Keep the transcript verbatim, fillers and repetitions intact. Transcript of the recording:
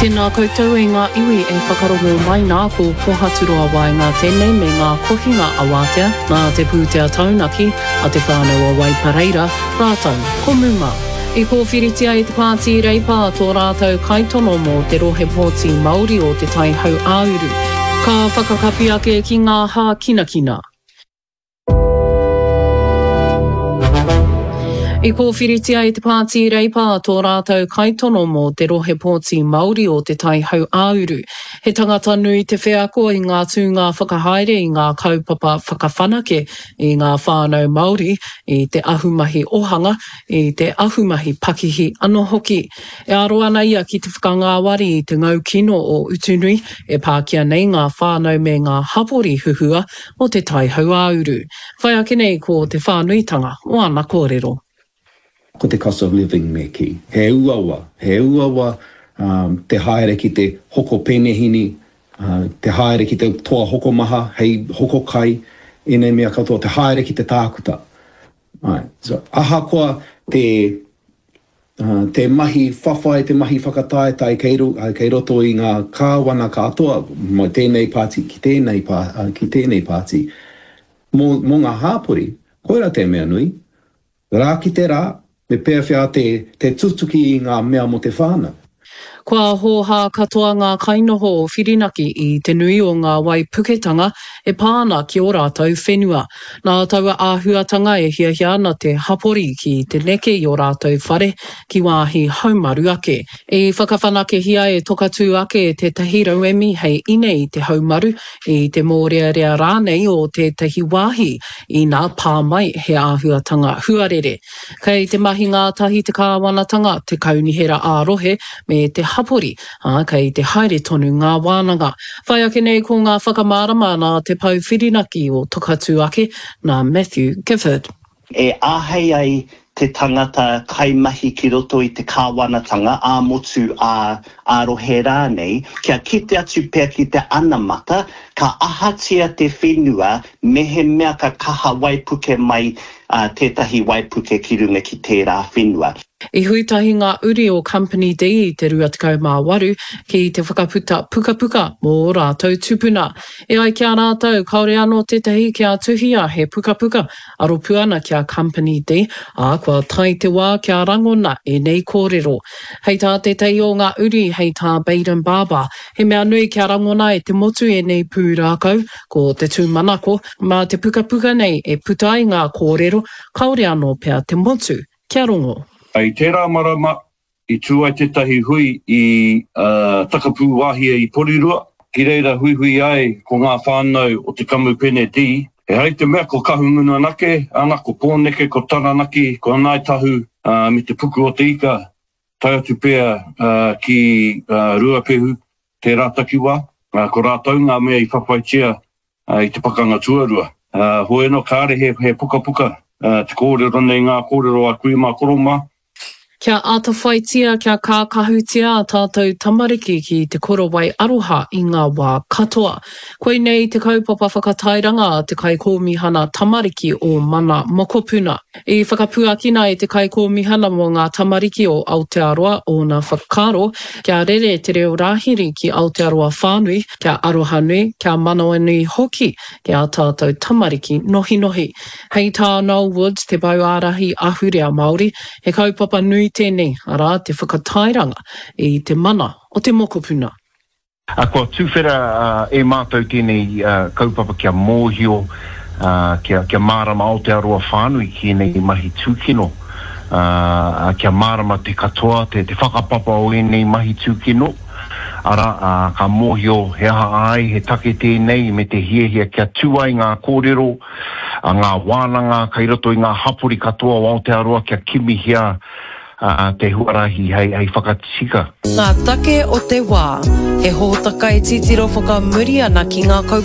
Tēnā koutou e ngā iwi e whakarongo mai nā ko Pohaturoa Waenga tēnei me ngā kohinga awātea nā te pūtea taunaki a te whānau o Waipareira rātou ko Muma. I kōwhiritia e te pāti Reipa tō rātou kaitono mō te rohe pōti Māori o Te Tai Hauāuru. Ka whakakapi ake ki ngā hākinakina. I kōwhiritia e te pāti Reipa tō rātou kaitono mō te rohe pōti Māori o Te Tai Hauāuru. He tangata nui te wheako i ngā tūnga whakahaere i ngā kaupapa whakawhanake i ngā whānau Māori, i te ahumahi ohanga, i te ahumahi pakihi anō hoki. E aro ana ia ki te whakangāwari i te ngau kino o Utunui e pākia nei ngā whānau me ngā hapori huhua o Te Tai Hauāuru. Whai ake nei ko te whānuitanga o ana kōrero. Ko te cost of living me kī. He uaua, he uaua te haere ki te hoko penehini, te haere ki te toa hokomaha hei hoko kai, ēnei mea katoa, te haere ki te tākuta. Āe. So, ahakoa te, te mahi whawhai, te mahi whakataetae kei, kei roto i ngā kāwana katoa, mai tēnei pāti ki tēnei, ki tēnei pāti, mō, mō ngā hāpori, koirā te mea nui. Rā ki te rā, me pēwhea te, te tutuki i ngā mea mō te whānau. Kua hōhā katoa ngā kainoho o Whirinaki i te nui o ngā waipuketanga e pā ana ki ō rātou whenua. Nā taua āhuatanga e hiahia ana te hapori ki te neke i ō rātou whare ki wāhi haumaru ake. I whakawhanakehia e Tokatū ake tētahi rauemi hei ine i te haumaru, i te mōrearea rānei o tētahi wāhi ina pā mai he āhuatanga huarere. Kei te mahi ngātahi te kāwanatanga, te kaunihera ā-rohe me te hapori, ā, kei te haere tonu ngā wānanga. Whai ake nei ko ngā whakamārama nā te pou whirinaki o Tokatū ake, nā Matthew Gifford. E āhei ai te tangata kaimahi ki roto i te kāwanatanga, ā-motu, ā, ā-rohe rānei, kia kite atu pea ki te anamata, ka ahatia te whenua mehemea ka kaha waipuke mai tētahi waipuke ki runga ki tērā whenua. I hui tahi ngā uri o Company D i te rua tekau mā waru ki te whakaputa pukapuka mō ō rātou tupuna. E ai ki a rātou, kāore anō tētahi kia tuhia he pukapuka aropu ana ki a Company D, ā, kua tae te wā kia rangona ēnei kōrero. Hei tā tētahi o ngā uri, hei tā Bayden Barber, he mea nui kia rangona e te motu ēnei pūrākau, ko te tūmanako, mā te pukapuka nei e puta ai ngā kōrero kāore anō pea te motu kia rongo. I tērā marama, i tū ai tētahi hui i Takapūwāhia i Porirua, ki reira huihui ai ko ngā whānau o te Kamupene D. Ehara i te mea ko Kahungunu anake, ana, ko Pōneke, ko Taranaki, ko Ngāi Tahu me te Puku o te Ika, tae atu pea ki Ruapehu, tērā takiwā. Ko rātou ngā mea i whawhaitia i te Pakanga Tuarua. Hoi anō, kāre he pukapuka te kōrero nei, ngā kōrero a kui mā, koro mā. Kia atawhaitia, kia kākahutia ā tātou tamariki ki te korowai aroha i ngā wā katoa. Koinei te kaupapa whakatairanga a te Kaikōmihana Tamariki o Mana Mokopuna. I whakapuakina e te Kaikōmihana mō ngā Tamariki o Aotearoa ōna whakaaro kia rere te reo rāhiri ki Aotearoa whānui, kia arohanui, kia manawanui hoki ki ā tātou tamariki nohinohi. Hei tā Noel Woods, te pou ārahi ahurea Māori, he kaupapa nui tēnei, arā, te whakatairanga i te mana o te mokopuna. Kua tuwhera e mātou tēnei kaupapa kia mōhio, kia mārama Aotearoa whānui ki ēnei mahi tūkino, kia mārama te katoa, te whakapapa o ēnei mahi tūkino, arā, ka mōhio he aha ai, he take tēnei me te hiahia kia tū ai ngā kōrero, ngā wānanga kei roto i ngā hapori katoa o Aotearoa kia kimihia te huarahi hei whakatika. Ngā take o te wā. He hōtaka e titiro whakamuri ana ki ngā kaupapa.